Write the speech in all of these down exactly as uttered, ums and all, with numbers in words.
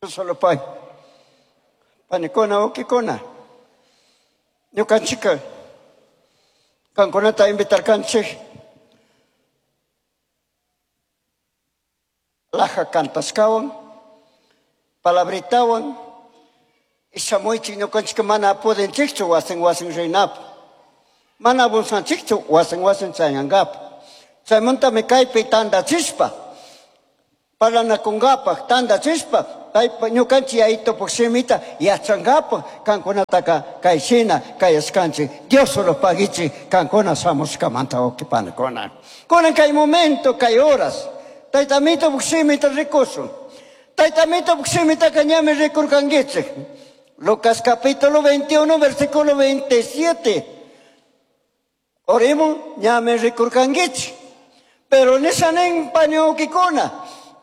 Solo pay. Panikuna, wawkikuna. Ñukanchika kankunata invitarkanchik laja kantashkawan, palabritawan, y shamuychik ñukanchika mana pudinchikchu wasin wasin rinapaq. Mana abunsanchikchu wasin wasin chayankapaq. Chaymantami kaypi tandachishpa, parlanakunkapaq tandachishpa, paypa ñukanchik yayitupuk shimita yachankapaq kankunataka kayshina kayashkanchik. Dios solo paguichik kankuna shamushkamanta wawqi panikuna. Kunan kay momento, kay horas, Tayta Amitupuk shimita rikushun. Tayta Amitupuk shimitaka ñami rikurkankichik. Lucas capítulo veintiuno, versículo veintisiete. Oremos, ñami rikurkankichik. Pero nishanin pani wawkikuna,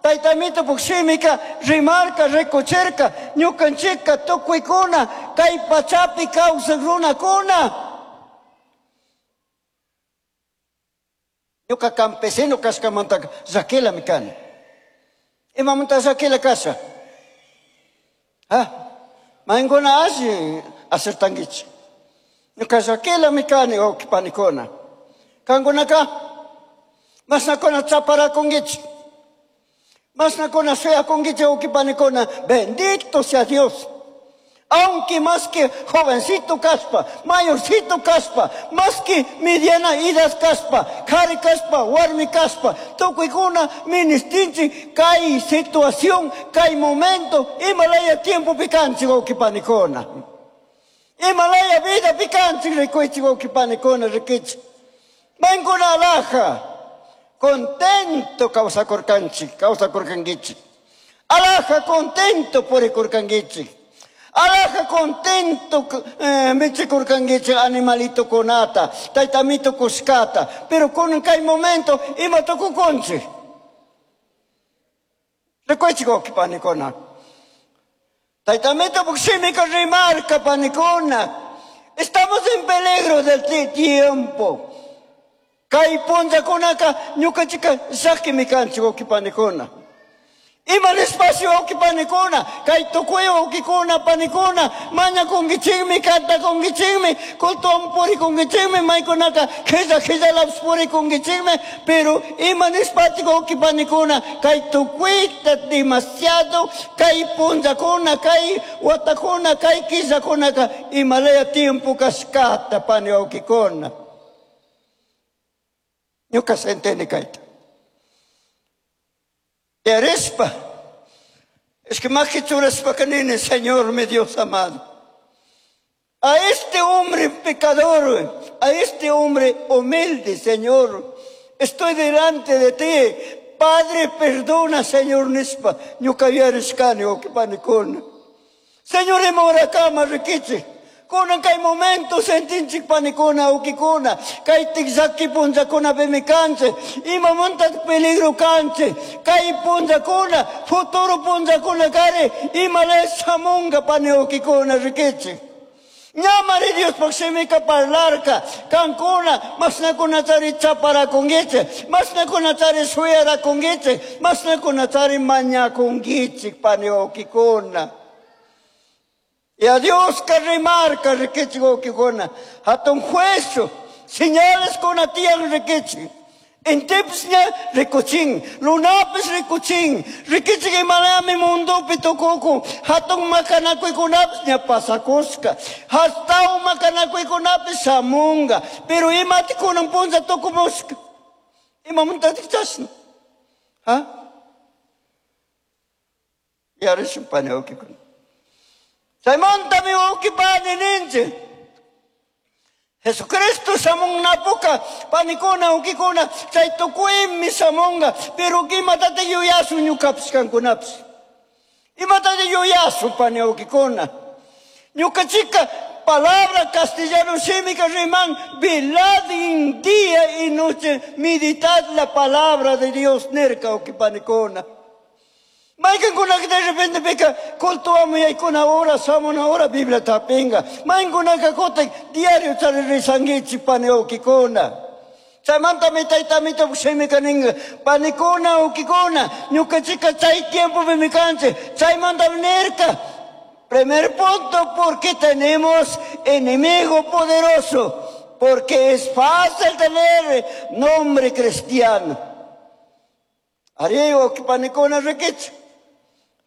Tayta Amitupuk shimika rimarka, rikuchirka, ñukanchikka tukuykuna, kay pachapi kawsaq runakuna. Ñuka campesino kashkamantaka llakilami kani. Imamanta llakila kasha? Ah, maynkuna alli acertankichik. Ñuka llakilami kani, wawqi panikuna. Kankunaka mashnakuna chaparakunkichik. Mashnakuna shuyakunkichik, wawqi panikuna. Bendito sea Dios. Aunque más que jovencito kaspa, mayorcito kaspa, más que mediana edad kaspa, kari kaspa, warmi kaspa, tukuykuna ministinchik kay situación, kay momento, imalaya tiempo pikanchik, wawqi panikuna. Imalaya vida pikanchik, rikuychik, wawqi panikuna, rikichik. Maykuna alaja, contento kawsakurkanchik, kawsakurkankichik. Alaja contento purikurkankichik. Alaja contento, eh, michikurkankichik animalito kunata, taytamito kushkata, pero kunan kay momento ima tukukunchik. Rikuychik wawqi panikuna. Taytamito shimika rimarka panikuna. Estamos en peligro del tiempo. Kay punllakunaka ñukanchika llakimi kanchik wawqi panikuna. Ima espacio wawqi panikuna, kay tukuy wawqikuna panikuna, mañakunkichikmi, kantakunkichikmi, cultowan purikunkichikmi, maykunaka qhilla qhillalapis purikunkichikmi, pero ima nishpatik wawqi panikuna, kay tukuyta demasiado, kay punllakuna, kay watakuna, kay killakunaka, imalaya tiempo kashkata pani wawqikuna. Ñuka sentini kayta. Yarispa, es que más que churaspa kanini, Señor mi Dios amado. A este hombre pecador, a este hombre humilde, Señor, estoy delante de ti. Padre, perdona, Señor, nispa, ñuka yarishkani, wawqi panikuna. Señor, ima rikichik. Kunan kay momento sentinchik panikuna, wawqikuna, kay tikllaki punllakuna pimi kanchik, imamanta peligro kanchik, kay punllakuna, futuro punllakuna kari, imala shamunga pani wawqikuna rikichik. Ñamari Diospaj shimika parlarka, kankuna, mashnakunatari chaparakunkichik, mashnakunatari shuyarakunkichik, mashnakunatari mañakunkichik pani wawqikuna. Y a Dios que remarca, rikichik wawqikuna, hatun juicio, señales kuna tiyan rikichik. Intipis ña rikuchin, lunapis rikuchin, rikichik imalami mundopi tukukun, hatun makanakuykunapis ña pasakushka, hasta makanakuykunapis shamunga, pero imati kunan punlla tukumushka, imamuntatik chashna, ha? Yarishun pani wawqikuna. Chaymantami wawqi pani ninchik. Jesucristo shamunnapuka, panikuna, wawqikuna, chay tukuymi shamunga, pero imatataq yuyasun ñukapish kankunapish. Imatataq yuyasun pani wawqikuna. Ñukachika palabra castellano shimika riman, velad en día y noche, meditad la palabra de Dios, nerka wawqi panikuna. Maykankunaka de repente pika cultuamu yaykuna hora, samuna hora, Biblia tapinga. Maykankunaka kutin diario chari rizankichik pani wawqikuna. Chaymantami taytamito shimika ninga panikuna ukikuna ñukanchika chay tiempopimi kanchik. Chaymantami nirka primer punto, porque tenemos enemigo poderoso, porque es fácil tener nombre cristiano. Ari panikuna rikichik.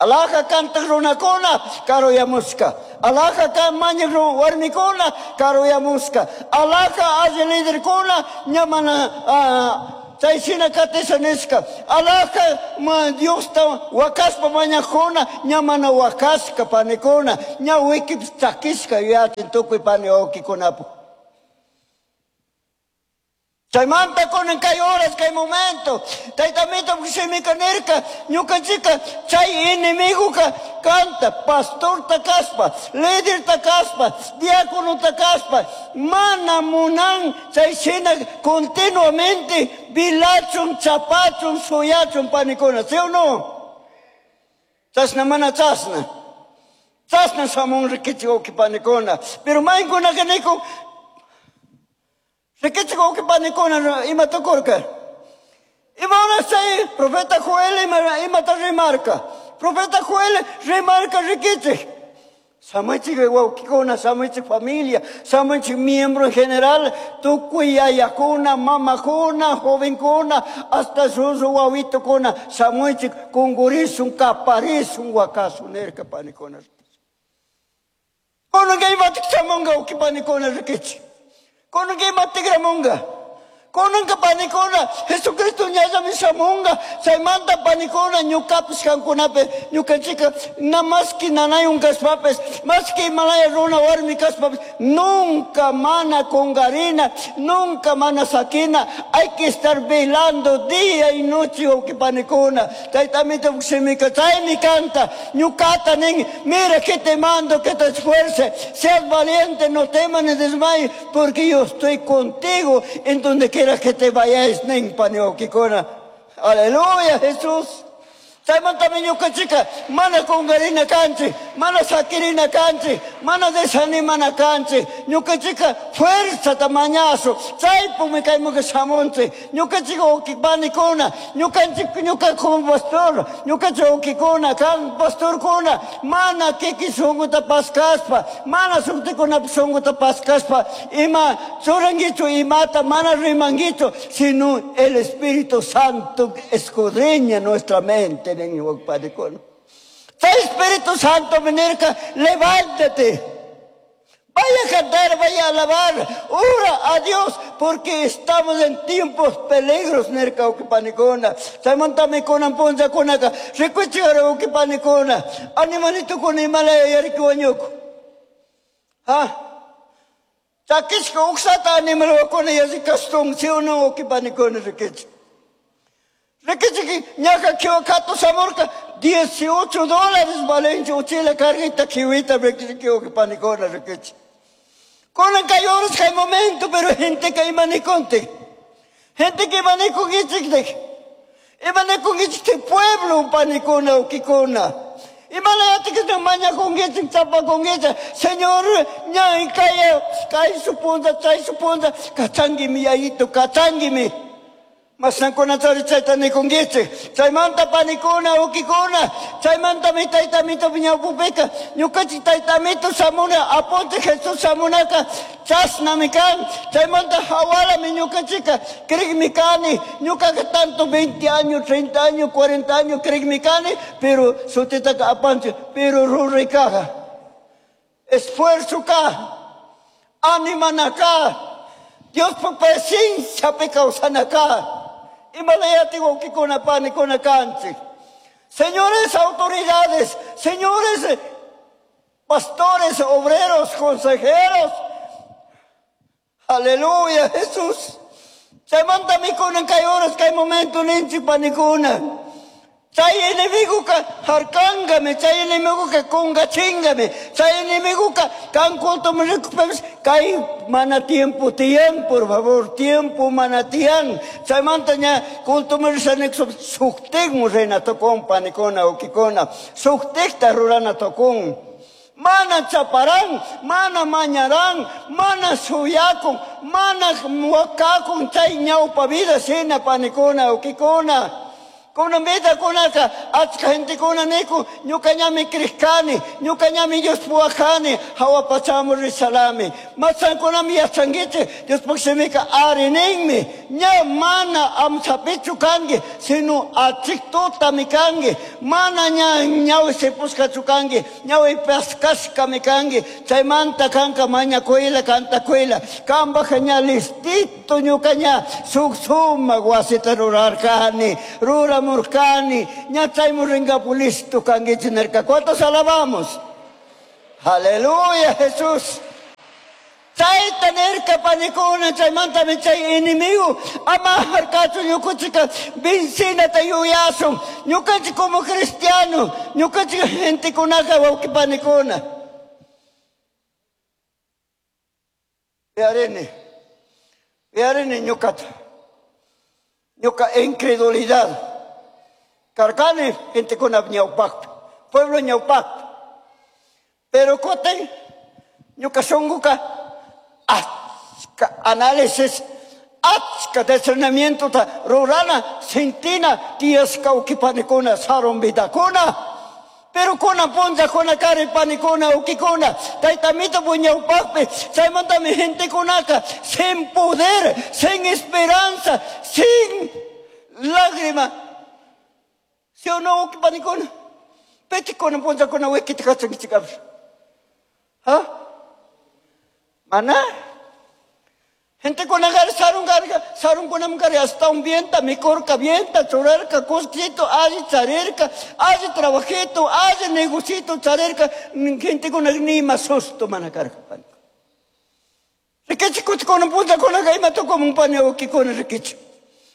Alaja kantaq runakuna karuyamushka. Alaja kan mañaq warmikuna karuyamushka. Alaja alli liderkuna ña mana chay shina katisha nishka. Alaja Diosta wakashpa mañaqkuna ña mana wakashka panikuna. Ña wikipis chakishka yuyachin tukuy pani wawkikunapu. Chaymanta kunan kay horas, kay momento, taytamito shimika nirka, ñukanchika chay enemigoka kanta, pastorta kaspa, liderta kaspa, diáconota kaspa, mana munan chay shina continuamente vilachun, chapachun, suyachun panikuna, ¿sí o no? Chashna mana chashna. Chashna shamun rikichik wawqi panikuna. Pero maykunaka nikun, rikichik wawqi panikuna ima tukurka. Ima horas chay profeta Joel ima, imata rimarka. Profeta Joel rimarka rikichik. Shamuchik wawqikuna, shamuchik familia, shamuchik miembro en general, tukuy yayakuna, mamakuna, jovenkuna, hasta sus wawitukuna, shamuchik kungurisun, kaparisun, wakasun, nirka panikuna. Kunanka imatik shamunga wawqi panikuna rikichik. Kunanka imatikramunga. Kunanka panikuna, Jesucristo ñallami shamunga, chaymanta panikuna, ñukapish kankunapi, ñukanchika, na maski nanayun kashpapis, maski imalaya runa warmi kashpapis, nunca mana kungarina, nunca mana sakina, hay que estar velando día y noche, wawqi panikuna. Taytamito shimika, chaymi kanta, ñukata nin, mira que te mando que te esfuerces, seas valiente, no temas ni desmayes, porque yo estoy contigo en donde quiera que te vayas, nin pani wawqikuna. Aleluya, Jesús. Chaymantami ñukanchika mana kungarina kanchik, mana sakirina kanchik, mana desanimana kanchik. Ñukanchika fuerzata mañasu, chaypumi kaymanka shamunchik. Ñukanchika wawqi panikuna, ñukanchik ñuka como pastor, ñukanchik wawqikuna, kan pastorkuna, mana kiki shunkuta paskashpa, mana shuktikunapa shunkuta paskashpa, ima churankichu imata, mana rimankichu, sino el Espíritu Santo escudriña nuestra mente. Espíritu Santo venirka, levántate. Vaya a cantar, vaya a alabar, ora a Dios, porque estamos en tiempos peligros, nirka wawqi panikuna. Chaymantami kunan punllakunaka, rikuchikara wawqi panikuna, animalitukuna imalaya yariki wañuku. Ha? Chakishka uksata animalwakuna yalli kastun, ¿sí o no wawqi panikuna rikichik? Rikichik ñaka kiwa katu shamurka, dieciocho dólares valenche uchila carguita kiwita rikichik wawqi panikuna rikichik. Kunan kay horas kay momento, pero gente que imanikonte. Gente que imanikonkichik. Imanikonkichik pueblo panikuna wawqikuna. Imalayati que mañakunkichik chapakunkichik. Señor, ñay kay kay supunta, chay supunta, kachanguimi yayito, kachanguimi. Masnankuna chari chayta nikunkichik. Chaymanta panikuna, wawqikuna, chaymanta mi taytamito ñawpupika, ñukanchik taytamito shamuna, apunchik Jesús shamunaka, chashnami kan. Chaymanta hawalami ñukanchika, krikmi kani, ñukaka tanto veinte años, treinta años, cuarenta años krikmi kani, pero sutitaka apanchik, pero ruraykaja. Esfuerzo ka, animanaka, Diospa presenciapi kawsanaka. Imalayati wawqikuna panikuna kanchik. Señores autoridades, señores pastores, obreros, consejeros. Aleluya, Jesús. Chaymantami kunan kay horas, kay momento ninchik panikuna. Chay enemigoka harkangami, chay enemigoka kungachingami, chay enemigoka kan culto rikupes, kay mana tiempo tiyan, por favor, tiempo mana tiyan. Chaymanta ña culto risanik suktikmu rina tukun panikuna wawqikuna, suktikta rurana tukun. Mana chaparan, mana mañaran, mana suyakun, mana wakakun chay ñawpa vida shina panikuna, ukikuna. Kunan vida kunaka achka gentekuna niku ñuka ñami krishkani, ñuka ñami Dios puwakani, hawa pachamu rishalami. Masankunami yachankichik, Diospuk shimika ari ninmi, ña mana amsapichu kanki, sino achiktutami kanki, mana ña ñawi sipushkachu kanki, ñawi paskashkami kanki, chaymanta kanka mañakuyla, kantakuyla, kampaj ña listito ñuka ña suk sumak wasita rurarkani, ruramurkani, ña chaymu rinkapu listo kankichik nirka. ¿Cuántos alabamos? Aleluya, Jesús. Chayta nirka panikuna, chaymantami chay enemigo ama harkachu ñukanchika vencinata yuyasun. Ñukanchik como cristiano, ñukanchik gentekunaka wawqi panikuna. Uyarini, uyarini ñukata, ñuka incredulidad. Karkani gentekuna ñawpakpi, pueblo ñawpakpi. Pero kutin ñuka shunkuka achka análisis, achka discernimientota rurana, sentina, tiyashka ukipanikuna, sarun vidakuna. Pero kuna punllakuna kari panikuna, ukikuna, taytamito ñawpakpi, chaymantami gentekunaka sin poder, sin esperanza, sin lágrima. ¿Sí o no, ukipanikuna? Petikuna punllakuna wikita kachankichikapis. ¿Ah? Mana? Gente con agar sarun garga, sarun kunam gari hasta un vienta, mi corca vienta, chorarca, cosquito, aji charerca, aji trabajito, aji negocito, charerca, gente con ni más susto manacarga. Riquichi cuch con un punta con aga ima toco un paneo que con riquichi.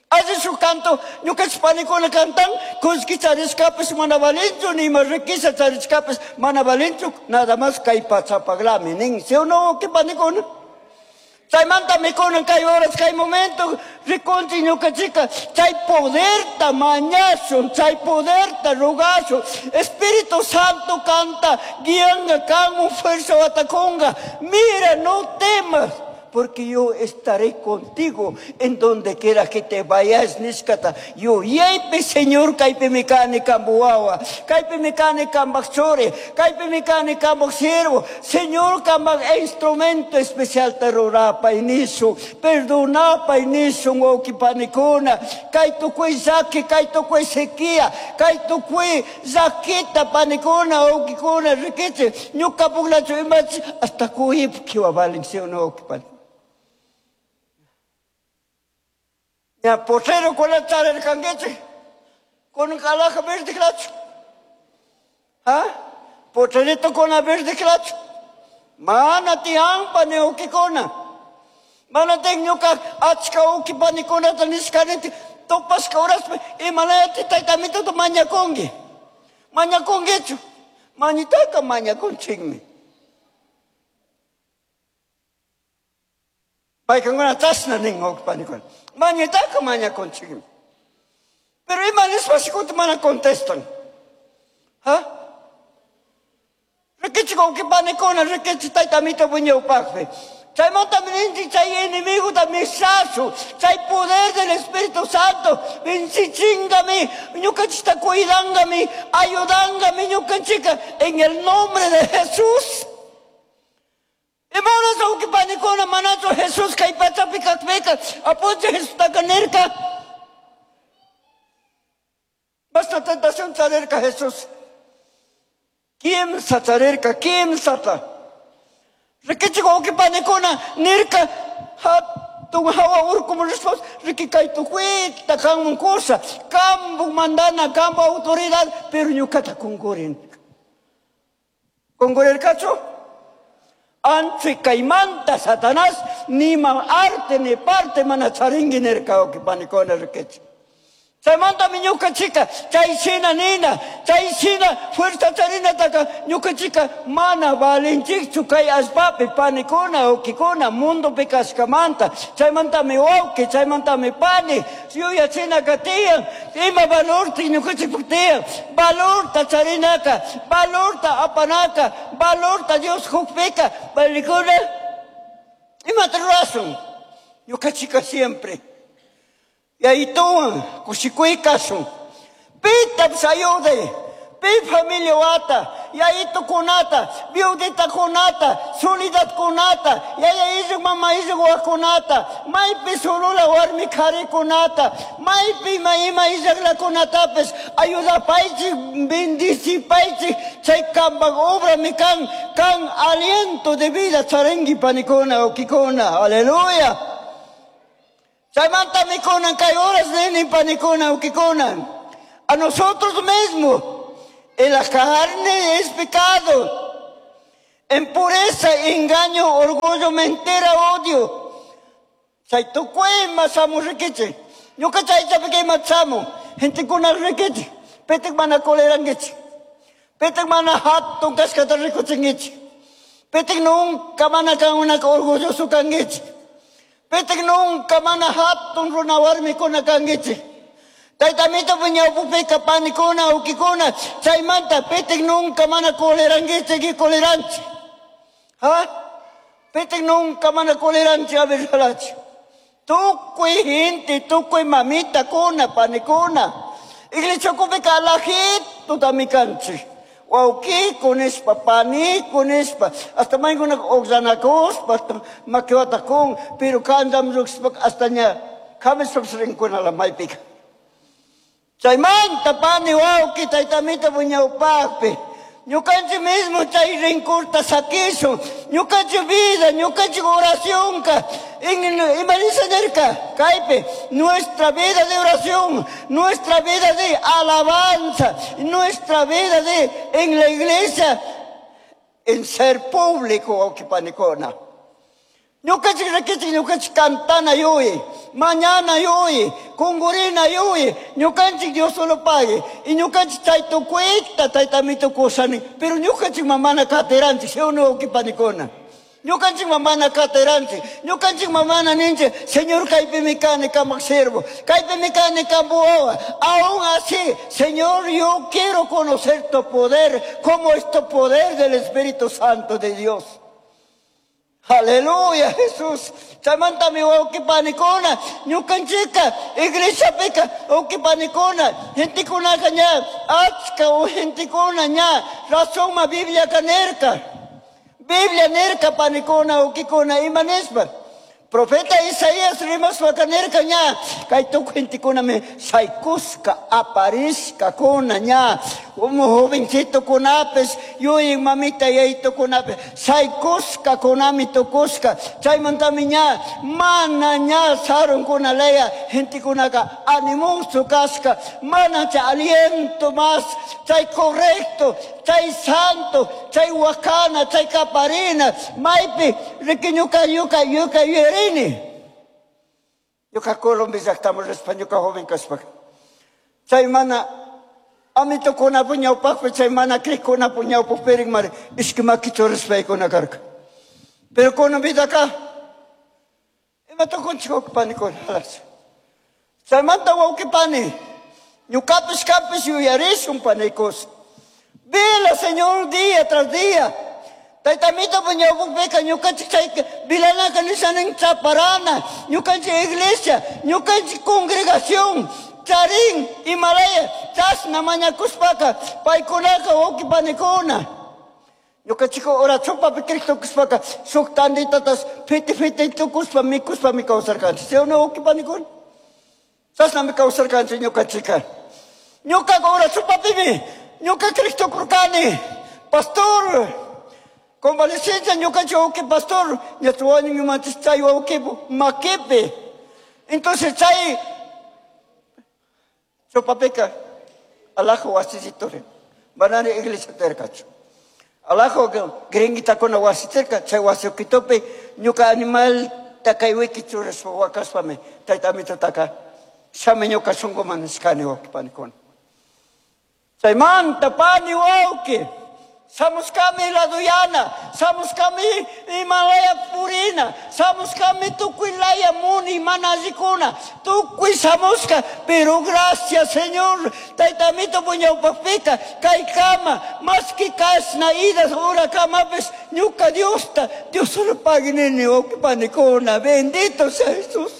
Aji su canto, ñuka panikuna cantan, cosqui chariscapes manavalinchu, ni más riqueza chariscapes manavalinchu, nada más kay pachapaglami, nin, si o no, que panikuna. Chaymanta mikunan kay horas, kay momento, rikunchik ñukanchika, chay poderta mañashun, chay poderta rogashun, Espíritu Santo canta, guianga, kanmun fuerza watakunga, mira, no temas, porque yo estaré contigo en donde quiera que te vayas, nishkata. Yo yaypi, Señor, kaypi mikani kambuwawa, kaypi mikani kambaj churi, kaypi mikani kambaj siervo. Señor, kambaj instrumento especial te rurapay nishu, perdonapay nishu, wawqipanikuna. Kay tukuy llaki, kay tukuy sequía, kay tukuy llakita panikuna, wawqikuna, rikichik, ñuka puklachu imachi, hasta kuyip kiwa valin, ¿sí o no, wawqipanikuna? Ya potrero con la chara el cangueche, con un calaja verde clacho. ¿Ah? Potrerito con la verde clacho. Mana tian pane ukikona. Mana teñuka achka uki panikona taniskaneti topaska horaspe imanayati taytamito to mañakongi. Mañakongichu. Mañitaka mañakonchikmi. Paykuna chashna nin uki panikuna. Mañitaka mañakonchikmi. Pero ima nishpa shikuta mana contestan. ¿Ah? Rikichik uki panikuna, rikichik taytamito ñawpakpi. Chaymanta ninchik chay enemigo mishashu, chay poder del Espíritu Santo, vinchichingami, ñukanchikta cuidangami, ayudangami ñukanchika, en el nombre de Jesús. Imanas uki panikuna manachu Jesús kay pachapi kakpika, apunchik Jesustaka nirka. Basta tentación charirka Jesús. Kimsa charirka, kimsata. Rikichik uki panikuna nirka, hatun hawa urkumu rishpas, riki kay tukuyta kanmun cosa, kambu mandana, kambu autoridad, pero ñukata kunkurin. Kunkurirkachu? Anchi kaymanta Satanás, ni ma arte ni parte mana charingi nirka uki panikuna rikichik. Chaymantami ñukanchika chay shina nina, chay shina fuerza charinataka ñukanchika mana valinchikchu kay allpapi panikuna, wawkikuna, mundopi kashkamanta. Chaymantami wawki, chaymantami pani, yuyachinaka tiyan, ima valorta ñukanchikpak tiyan, valorta charinaka, valorta apanaka, valorta Dios kukpika, panikuna, imata rurasun, ñukanchika siempre. Yayituwan kushikuy kashun. Pitapish ayuday, pi familia wata, yayitukunata, viuditakunata, soledadkunata, yaya illak mama illak wawakunata, maypi solula warmi karikunata, maypi ima ima illaklakunatapish ayudapaychik, bendicipaychik, chay kampak obrami kan, kan aliento de vida charinki panikuna, wawkikuna, aleluya. Chaymantami kunan kay horas nini panikuna, wawkikuna. A nosotros mismos, en la carne es pecado, en pureza, engaño, orgullo, mentira, odio. Chay tukuy shamu rikichik. Ñuka chaychapika ima shamu, gentekuna rikichik, pitik mana colerankichik, pitik mana hatun kashkata rikuchinkichik, pitik nunca mana kankunaka orgulloso kankichik, pitik nunca mana hatun runa warmikuna kankichik. Taytamito ñawpapika panikuna, wawkikuna, chaymanta pitik nunca mana colerankichik y coleranchik. ¿Ah? Pitik nunca mana coleranchik abirjalachi. Tukuy gente, tukuy mamita kuna, panikuna. Iglesia kupika alajito tamikanchik. Wawkiku nishpa, paniku nishpa, hasta maykuna oqllanakuspa, hasta makiwatakun, pero kancham lluqshpa hasta ña kamishpapish rinkunala maypika. Chaymanta pani wawki taytamita ñawpaqpi, ñukanchik mismo chay rinkurta sakishun, ñukanchik vida, ñukanchik oracionka, ima nisha nirka, kaypi, nuestra vida de oración, nuestra vida de alabanza, nuestra vida de en la iglesia, en ser público, wawki panikuna. Ñukanchik rikichik, ñukanchik cantana yuyi, mañana yuyi, kungurina yuyi, ñukanchik Dios solo pague, y ñukanchik chay tukuyta taytamito kusani, pero ñukanchik mamana katiranchik, ¿sí o no, wawki panikuna? Ñukanchik mamana katiranchik, ñukanchik mamana ninchik, Señor kaypimi kani kamak siervo, kaypimi kani kambu wawa, aún así, Señor, yo quiero conocer tu poder, como es tu poder del Espíritu Santo de Dios. Aleluya, Jesús. Chaymantami wawki panikuna, ñukanchika, iglesiapika, wawki panikuna, gentekunaka ña, achka gentekuna ña, razonma Bibliaka nirka. Biblia nirka panikuna, wawkikuna, ima nishpa. Profeta Isaías rimashpaka nirka ña, kay tukuy gentekunami shaykushka, aparishkakuna ña, como jovencitokunapish, yuyin mamita yayitukunapish, shaykushkakunami tukushka, chaymantami ña, mana ña sarunkuna laya, gentekunaka animoso kashka, mana chay aliento más, chay correcto, chay santo, chay wakana, chay kaparina, maypi, riki ñuka, ñuka, ñuka yuyarini. Ñuka Colombia llaqtaman rishpa ñuka joven kashpaka. Chay mana amitokunapu ñawpaqpi, chay mana creekkunapu ñawpaqpi mari ishki makichu rishpaykuna karka. Pero kunan vidaka, ima tukunchik wawqi panikuna, halas. Chaymanta wawqi pani, ñukapish kanpish yuyarishun panikos. Vela, Señor, día tras día. Taytamito ñawpaqpika ñukanchik chay vilanaka nishanin chaparana, ñukanchik iglesia, ñukanchik congregación, charin, Himalaya, chashna mañakushpaka, paykunaka wawqi panikuna. Ñukanchik oracionpapi creek tukushpaka, shuk tanditatas fiti fiti tukushpa mikushpami kawsarkanchik. ¿Sí o no, wawqi panikuna? Chashnami kawsarkanchik ñukanchika. Ñukaka oracionpapimi, ñuka creek tukurkani, pastor, convalecencia ñukanchik wawqi pastor, ña wañunmanchis chay wawqi makipi. Entonces chay chupapika alajo wasisitore, manani iglesia terkachu. Alajo gringuitakuna wasiterka, chay wasiukitupi ñuka animal takay wiki churashpa wakashpami tayta Amitataka Shami ñuka shunkuman nishkani wawqi panikuna. Chaymanta pani wawqi, shamushkami laduyana, shamushkami Himalaya purina, shamushkami tukuy laya muni mana allikuna, tukuy shamushka, pero gracias Señor, Taytamito puñawpaqpika, kay kama, maski kashna idas ura kamapish, ñuka Diosta, Dios solo pagui nini wawqi panikuna, bendito sea Jesús.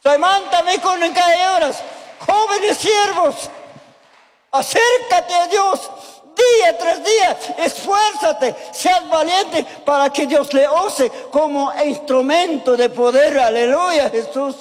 Chaymanta mikunan kay horas, jóvenes siervos, acércate a Dios día tras día, esfuérzate, seas valiente para que Dios le use como instrumento de poder. Aleluya, Jesús.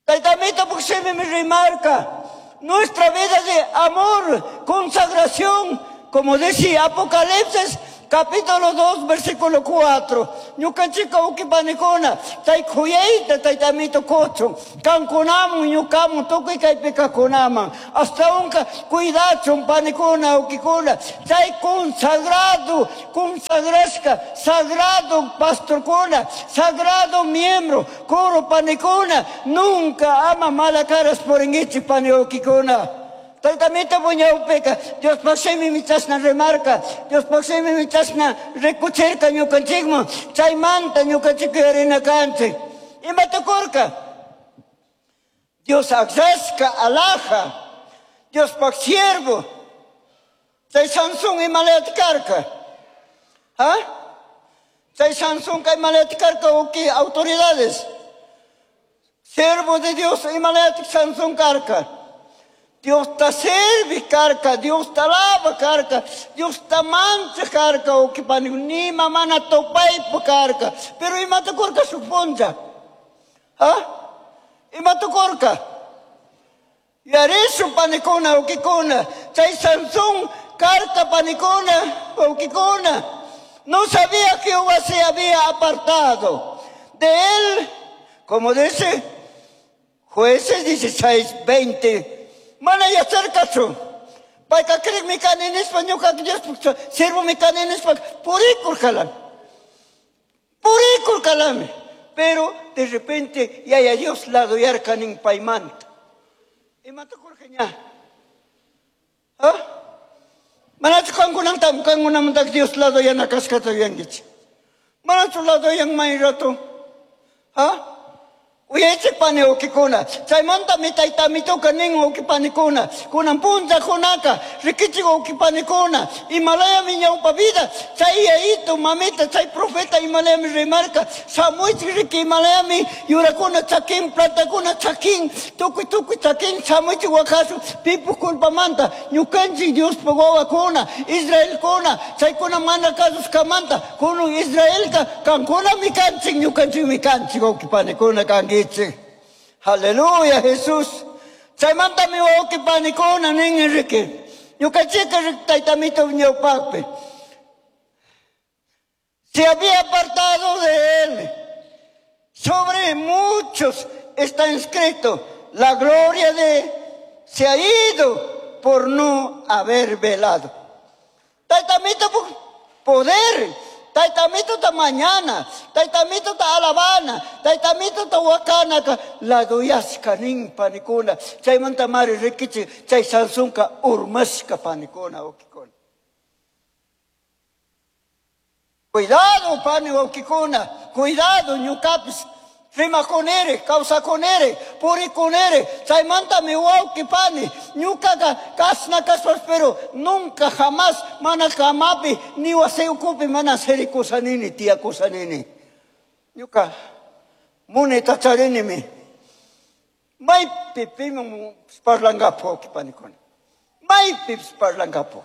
Taytamito porque me remarca nuestra vida de amor, consagración, como decía Apocalipsis capítulo dos, versículo cuatro. Ñukanchika ukipanikuna, chay kuyayta taytamito kuchun, kankunaman ñukaman tukuy kaypi kajkunaman, hasta unka cuidachun panikuna ukikuna, chay consagrado, consagrashka, sagrado pastorkuna, sagrado miembro, coro panikuna, nunca ama mala caras purinkichik pani ukikuna. Taytamito puñawpika, Dios pasemi michasna remarca, Dios pasemi michasna rikuchirka ñukanchikman, chaymanta ñukanchik yarina kanchik. Ima tukurka? Dios aklashka alhaja, Diospaj siervo, chay Sansón imalayata karka. ¿Ah? Chay Sansón imalayata karka uki autoridades. Siervo de Dios imalayata Sansón karka. Dios ta servi karka, Dios ta alaba karka, Dios ta mancha karka, ukipani ni mamana topaipa karka. Pero imata kurka suponja. ¿Ah? Imata kurka. Yarisu panikuna ukikuna, chay Sansón karka panikuna ukikuna. No sabía que Jehová se había apartado de él, como dice Jueces dieciséis, veinte. Mana yacharkachu. Payka creek kani nispa ñuka Dios siervo mi kani nispa purikurkalam. Purikurkalami. Pero de repente yaya Dios lado yarkanin paymanta. Imata kurka ña? ¿Ah? Manachu kankunanta kankunamanta Dios lado yana kashkata yuyankichik. Manachu lado yan may rato? ¿Ah? Uyaychik pani ukikuna, chaymanta mi taytamituka nin ukipanikuna, kunan punllakunaka rikichik ukipanikuna, Himalayami ñawpa vida, chay yayito mamita, chay profeta Himalayami rimarka, shamuychik riki Himalayami yurakuna chakin, plantakuna chakin, tukuy tukuy chakin, shamuychik wakasu, pipu culpamanta, ñukanchik Diospaj wawakuna, Israelkuna, chaykuna mana kasushkamanta, kunun Israelka, kankunami kanchik, ñukanchikmi kanchik ukipanikuna kanki. Aleluya, Jesús. Chaymanta mi wawqi panikuna nin Enrique. Ñukanchika taytamito ñawpaqpi. Se había apartado de él. Sobre muchos está inscrito la gloria de se ha ido por no haber velado. Taytamito poder. Taytamito ta mañana, taytamito ta alabana, taytamito ta wakana, la duyashka nin panikuna, chaymanta mari rikichi, chay Sansonka urmashka panikuna ukikuna. Cuidado pani ukikuna, cuidado ñukapis, rimakunere, kawsakunere, purikunere, chaymanta mi wawqi pani, ñukaqa kasna kaspas, pero nunca jamás mana kamapi ni wasi ukupi mana sirikusanini, tiyakusanini. Ñuka munita charinimi. Maypi piman parlangapo wawqi panikuna. Maypi parlangapo.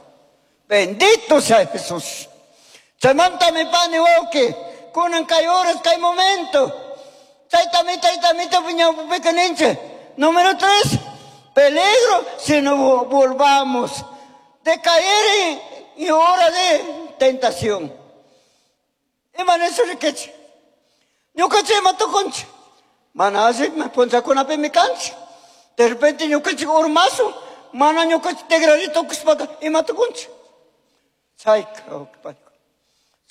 Bendito sea Jesús. Chaymanta mi pani wawqi, kunan kay horas, kay momento. Taytami, taytamito, piñawpipika ninchik. Número tres, peligro si no volvamos de caer en hora de tentación. Ima nisha rikichik. Ñukanchik ima tukunchik. Mana alli punllakunapimi kanchik. De repente ñukanchik urmasun, mana ñukanchik tigrari tukushpaka ima tukunchik. Chayka,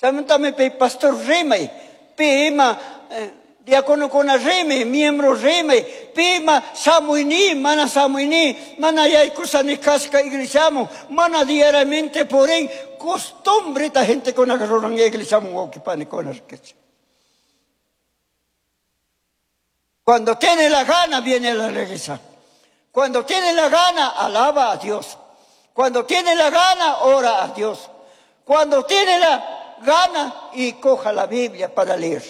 chaymantami pi pastor rimay, pi ima Diácono con rime, miembro rime, pima, samuini, mana samuini, mana yaykusa ni kasqa iglesiaman, mana diariamente purin, costumbre ta gente con ruran iglesiaman wawqipanikuna rikichik. Cuando tiene la gana viene a la iglesia. Cuando tiene la gana alaba a Dios. Cuando tiene la gana ora a Dios. Cuando tiene la gana y coja la Biblia para leer.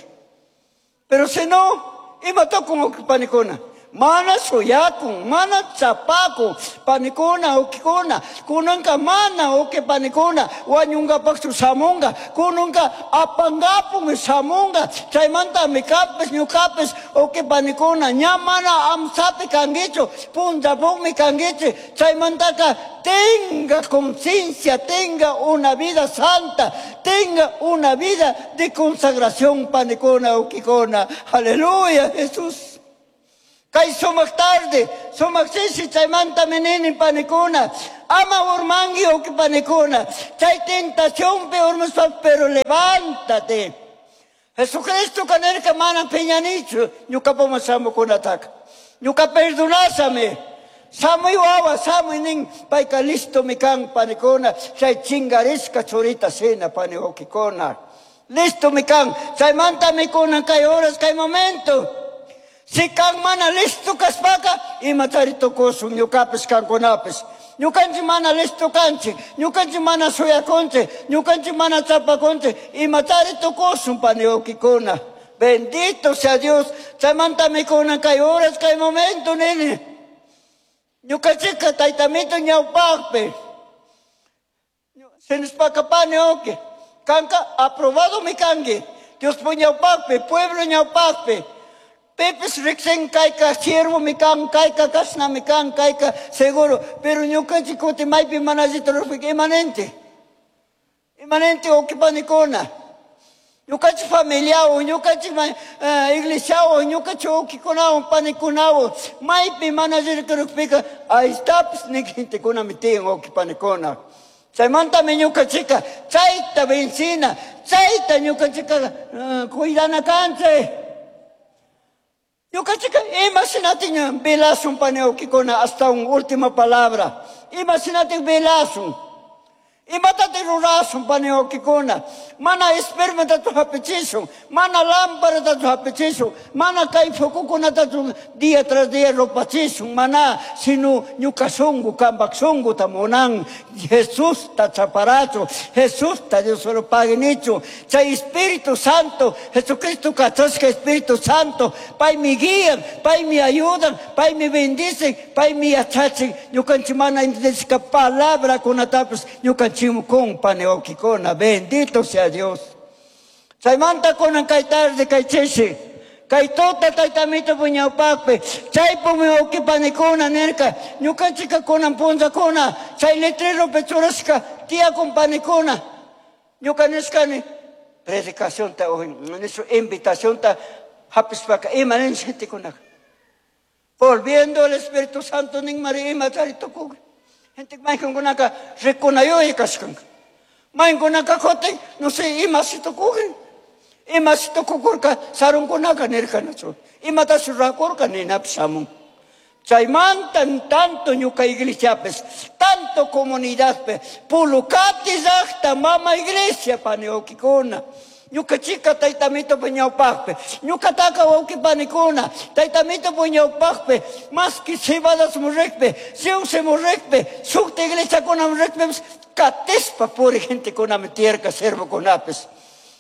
Pero si no, imata wawqipanikuna. Mana shuyakun, mana chapakun, panikuna, wawqikuna, kunanka mana wawqipanikuna, wañunkapaqchu shamunga, kunanka apangapun shamunga, chaymantami kanpish ñukapish wawqipanikuna, ña mana amsapi kankichu, punllapukmi kankichik, chaymantaka tenga conciencia, tenga una vida santa, tenga una vida de consagración, panikuna, wawqikuna. Aleluya, Jesús. Kay sumak tarde, sumak chishi chaymanta nini panikuna, ama urmangi wawqipanikuna, chay tentación pe urmaspa, pero levántate. Jesucristo kanirka mana piñanichu, ñukapaman shamukunataka. Ñuka perdonashami. Shamuy wawa, shamuy nin, payka listo mi kan panikuna, chay chingarishka churita shina pani wawqikuna. Listo mi kan, chaymanta mikuna kay horas, kay momento. Si kan mana listo kaspaka, imatari tukusun ñukapish kankunapish. Ñukanchik mana listo kanchik, ñukanchik mana shuyakunchik, ñukanchik mana chapakunchik, imatari tukusun pani wawqikuna. Bendito sea Dios, chaymanta mikuna kay horas, kay momento nini. Ñukanchikka taytamito ñawpaqpi. Sinispaka pani wawqi, kanka aprobado mi kanki. Dios ñawpaqpi, pueblo ñawpaqpi. Pipis riksin kayka siervo mi kan, kayka kasna mi kan, kayka seguro. Pero ñukanchik kuti maypi mana allita rurapika imanente. Imanente wawqipanikuna. Ñukanchik familiawan, ñukanchik iglesiawan, ñukanchik wawqikunawan, panikunawan, maypi mana allita rurapika, ahí estapis nik gentekunami tiyan wawqipanikuna. Chaymantami ñukanchikka chayta vencina, chayta ñukanchikka cuidana kanchik. Ñukanchikka imagínate velasun pani wawqikuna hasta un última palabra. Imagínate velasun. Imatataq rurasun pani wawqikuna. Mana espermatatu hapichishun, mana lámparatatu hapichishun, mana kay focokunatatu día tras día rupachishun, mana sino ñuka shunku kanpak shunkuta munan Jesusta chaparachu, Jesusta Dios solo pague nichu. Chay Espíritu Santo, Jesucristo kachashka Espíritu Santo, paymi guían, paymi ayudan, paymi bendicen, paymi yachachin, ñukanchik mana entendishka palabrakunatapish ñukanchikmi kun pani wawqikuna. Bendito sea Dios. Chaymanta kunan kay tarde kay chishi, kay tuta taytamito puñawpaqpi, chaypumi wawqipanikuna nirka, ñukanchikka kunan punllakuna, chay letreropi churashka tiyakun panikuna. Ñuka nishkani predicacionta, nishu invitacionta hapispaka ima nin gentekunaka. Volviendo al Espíritu Santo nin mari ima tari tukukri. Gente maykankunaka rikunayuy kashkanka. Maykankunaka kutin, no sé, ima si tukukrin. Ima si tukukurka sarunkunaka nirkanachu. Imatashi rurakurka ninapish shamun. Chaymanta tanto ñuka iglesiapis, tanto comunidadpi, Pulucati llaqta mama iglesia pani wawqikuna. Ñuka chika taytamito puñawpaqpi, ñukataka wawqipanikuna, taytamito puñawpaqpi, maski Cebadas murriqpi, Siuse murriqpi, sukta iglesiakuna murriqpipis, katispa puri gentekunami tiyarka siervokunapis.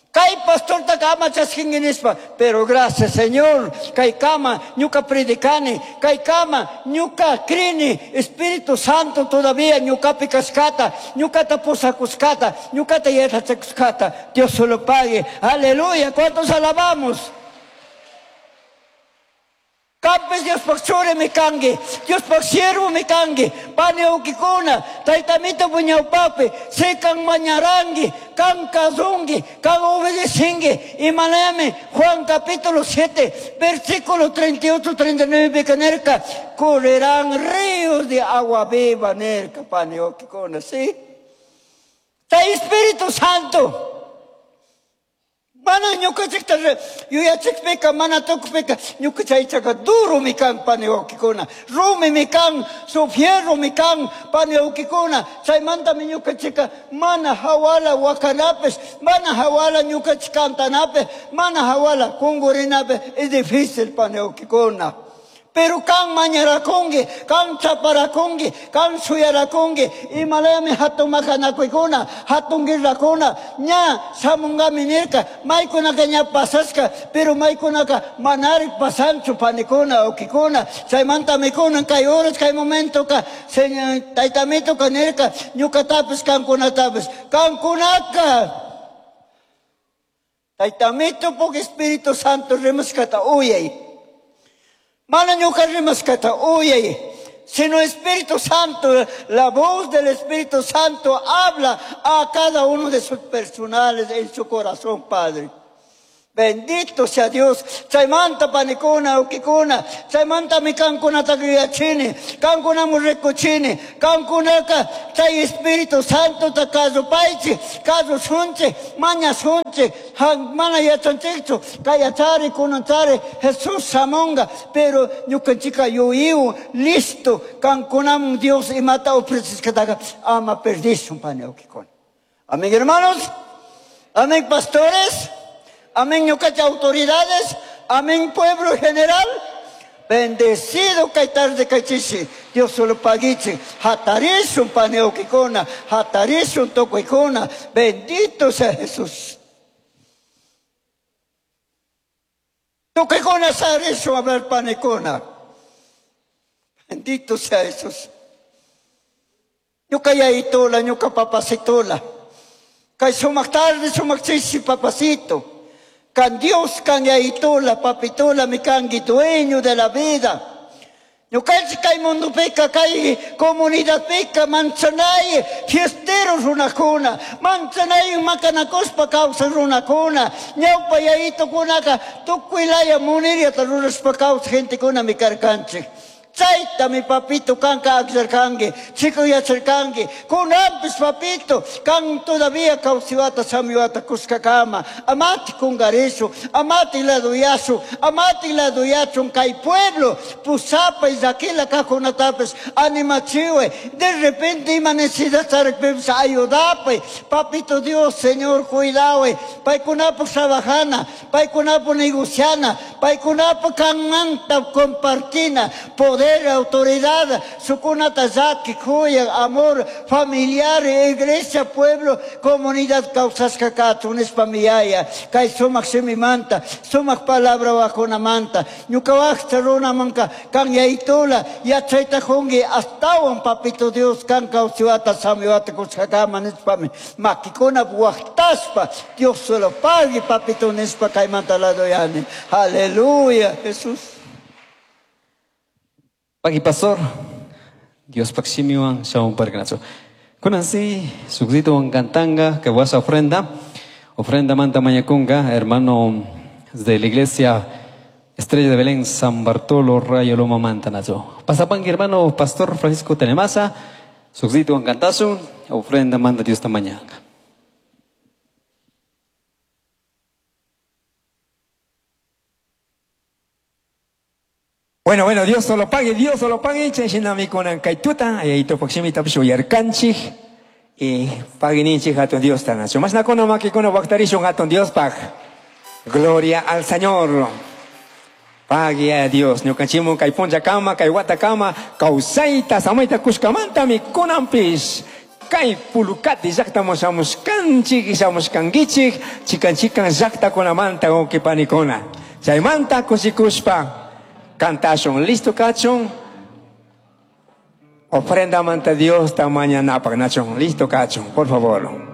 Kay pastorta kama chaskinki nishpa, pero gracias Señor, kay kama ñuka predicani, kay kama ñuka crini, Espíritu Santo todavía ñukapi kashkata, ñukata pusakushkata, ñukata yachakushkata, Dios se lo pague. Aleluya, ¿cuántos alabamos? Kanpish Diospaj churi mi kanki, Diospaj siervo mi kanki, pani wawqikuna, taytamito puñawpaqpi, si kan mañaranki, kan kasunki, kan obedecinki, imanami Juan capítulo siete, versículo treinta y ocho, treinta y nueve, nirka, correrán ríos de agua viva, nirka, pani wawqikuna, ¿sí? Chay Espíritu Santo, Mana ñukanchikta yuyachikpika mana tukpika ñuka chaychaka durumi kan pani wawkikuna, rumimi kan, su fierromi kan pani wawkikuna. Chaymantami ñukanchika mana hawala wakanapish, mana hawala ñukanchik cantanapish, mana hawala kungurinapish es difícil pani wawkikuna. Pero kan mañarakunki, kan chaparakunki, kan shuyarakunki, imalayami hatun makanakuykuna, hatun guerrakuna, ña shamunkami nirka, maykunaka ña pasashka, pero maykunaka manarik pasanchu panikuna, wawkikuna. Chaymantami kunan kay horas, kay momentoka, señor taytamituka nirka, ñukatapish kankunatapish, kankunaka Taytamito puk Espíritu Santo rimashkata uyay. Mana ñuka rimashkata uyay, sino Espíritu Santo, la voz del Espíritu Santo habla a cada uno de sus personales en su corazón, Padre. Bendito sea Dios. Chaymanta panikuna, ukikuna, chaymanta mi kankunata yuyachini, kankunamu rikuchini, kankunaka chay Espíritu Santo ta kasupaychi, kasushunchi, mañashunchi, mana yachanchikchu, kayachari, kunanchari, Jesús shamunga, pero ñukanchika yuyiwan, listo, kankunamun Dios imata ofrecishkataqa ama perdishun, pani ukikuna. Amén, hermanos. Amén, pastores. Amén, ñucacha autoridades. Amén, pueblo general. Bendecido kay tarde kay chishi. Dios solo paguiche. Hatarishun paneokikuna. Hatarishun tokuikuna. Bendito sea Jesús. Tokuikuna sarishun a ver panekuna. Bendito sea Jesús. Ñuca yaitola, ñuca papacitola. Kay sumak tarde, sumak chishi, papacito. Can Dios can yaitola, papitola, mi kangi dueño de la vida. Ñukanchik kay mundo peca, kay comunidad peca, manchanay, fiesteros runakuna, manchanay makanakospa kawsaq runakuna, ñawpa yaitokunaka tukuy laya muniriata rurashpa kawsaq gentekuna mi karkanchik. Chayta mi papito kanka akllarkanki, chico yacharkanki, kunampis papito, kan todavía kawsiwata samiwata kuskakama, amati kungarishu, amati laduyasu, amati laduyachun kay pueblo, pusapa y llakila kajkunatapis animachiwe, de repente ima necesidad charakpipis ayudapay, papito Dios, Señor, cuidawe, paykunapu trabajana, paykunapu negociana, paykunapu kanmanta compartina, poder, autoridad, sukunata llaki, kuya, amor familiar, iglesia, pueblo, comunidad, kawsashka kachun nishpa miyaya, kay sumak shimimanta, sumak palabra wakunamanta, ñuka waqcha runamanka kan yaytula, yachayta jungi, astawan papito Dios, kan kawsiwata, samiwata kushkakama nishpami, makikuna waqtashpa, Dios solo pague, papito nishpa kaymanta ladoyani. Aleluya, Jesús. Pagi pastor, Dios paximiwan shaun pargnacho. Kunansi, sugdito cantanga, que vas a ofrenda, ofrenda manta mañacunga, hermano de la iglesia Estrella de Belén, San Bartolo, Rayo Loma Mantanacho. Pasapan, hermano pastor Francisco Tenemasa, sugdito cantazo, ofrenda manda Dios tamañanga. Bueno, bueno, Dios solo pague, Dios solo pague. Chay kunan kaytuta, ayayto pakshimita pishuyarkanchik. Y paguininchik hatun Dios tanacho. Mas nakuna makikuna waktarishun hatun Dios pag. Gloria al Señor. Pague a Dios. Ñukanchimun kay puncha kama, kay wata kama, kawsayta, samayta kushkamantami kunanpish. Kay pulukati llaqtaman shamushkanchik, shamushkankichik, chikan chikan llaqtakunamanta wawqipanikuna. Chaymanta kushikushpa cantashun, listo kachun. Ofrenda manta Dios tamaña napak nachun, listo kachun, por favor.